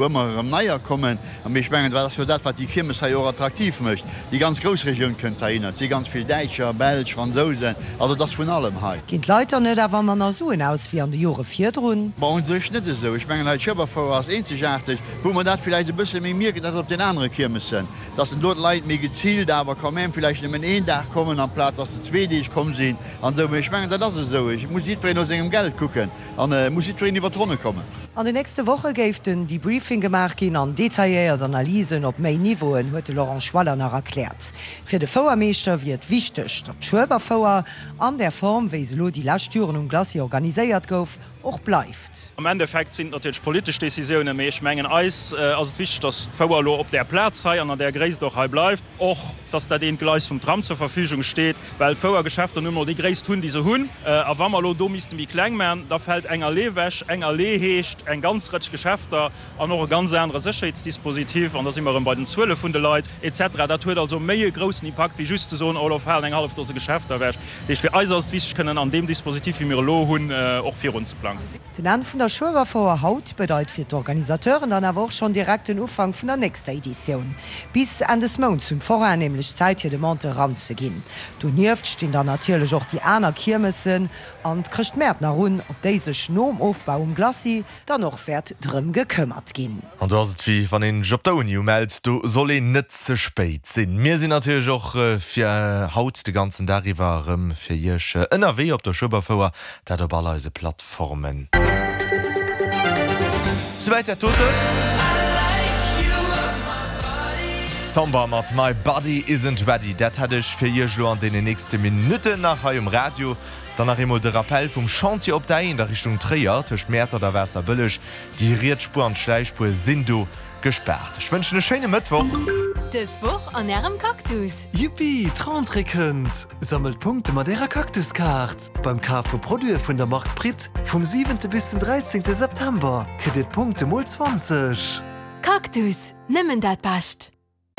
Ëmmer erëm neier kommen. A mee ech mengen, dat ass jo dat, wat déi Kiermes hei och attraktiv mécht. Déi ganz Groussregioun kënnt heihinner. Et si ganz vill Däitscher, Belsch, Fransousen, also et ass vun allem hei. Ginn d'Leit dann net awer manner Suen aus wéi an de Jore virdrun? Bon, u sech net esou. Ech mengen, hei d'Schueberfouer ass eenzegaarteg. Wou mer dat villäicht e bësse méi mierken, dat ass op den anere Kiermessen, dass en do d'Leit méi geziilt awer quand même villäicht nëmmen een Dag kommen, amplaz dass se zwee Deeg komm sinn an esou. Mee ech mengen, dat ass esou. Et muss jiddwereen no sengem Geld kucken. An et muss jiddwereen iwwer d'Ronne kommen. An den nächste Woche géif den Debriefing gemaach ginn an detailléiert Analysen op méi Niveauen, huet de Laurent Schwaller nach erkläert. Fir de Fouermeeschter wier et wichteg, datt d'Schueberfouer an där Form, wéi se elo déi lescht Joren um Glacis organiséiert gouf, och bleift. Am Endeffekt sinn et natierlech politesch Decisiounen, mee ech mengen eis ass et wichteg, datt d'Fouer elo op där Plaz hei an an där Gréisst och hei bleift. Och dass dat eent Gleis vum Tram zur Verfügung steet, well d'Fouergeschäfter nun emol déi Gréisst hunn, déi se hunn. A wa mer elo do misste méi kleng maachen, da fält eng Allee ewech. Eng Allee heescht eng ganz Rëtsch Geschäfter an och e ganz anere Sécherheetsdispositif. An da si mer erëm bei den Zuele vun de Leit et cetera. Dat huet also méi e groussen Impakt, wéi just ze soen, oh, elo falen eng hallef Dose Geschäfter ewech. Dat heescht, fir eis ass et wichteg, kënnen an deem Dispositif, wéi mir elo hunn, och virunzeplangen. Den Enn vun der Schueberfouer haut bedeit fir d'Organisateuren dann awer och schonn direkt den Ufank vun der nächster Editioun. Bis Enn des Mounts hunn d'Forainen nämlech Zäit hir Demande eranzeginn. Donieft stinn dann natierlech och déi aner Kiermessen an d'Chrëschtmäert nach un, op déi sech nom Ofbau um Glacis dann och wäert drëm gekëmmert ginn. An do ass et wéi wann een sech op der Uni umellt, do soll een net ze spéit sinn. Mir sinn natierlech och fir haut de ganzen Dag iwwer erëm fir iech ënnerwee op der Schueberfouer, dat op all eise Plattformen. Souwäit dat doten. Somber mat My Body Isn't Ready, dat hätt ech fir iech elo an deenen nächste Minutten nach hei um Radio. Dann nach eemol de Rappel vum Chantier op der A1 a Richtung Tréier, tëscht Mäertert a Waasserbëlleg. Déi riets Spuer an d'Schläichspuer sinn do gespaart. Ech wënschen e schéine Mëttwoch. Dës Woch an Ärem Cactus! Yuppi, d'Rentrée kënnt! Sammelt Punkte mat Ärer Cactus-Kaart! Beim Kaf vu Produite vun der Mark Pritt vum 7 bis den 13 September kritt Dir d'Punkte mol 20. Cactus, nëmmen dat Bescht!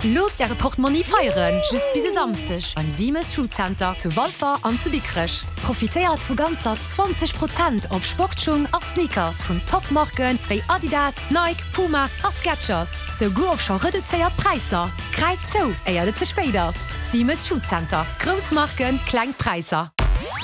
Loosst Äre Portmonni feieren, just bis e Samsdeg beim Simes Shoecenter zu Walfer an zu Dikrech. Profitéiert vu ganzer 20 Prozent op Sportschung a Sneakers vun Top-Marken wéi Adidas, Nike, Puma a Skechers, souguer op scho reduzéiert Präisser. Gräift zou, éiert et ze spéit ass! Simes Shoecenter, grouss Marken, kleng Präisser.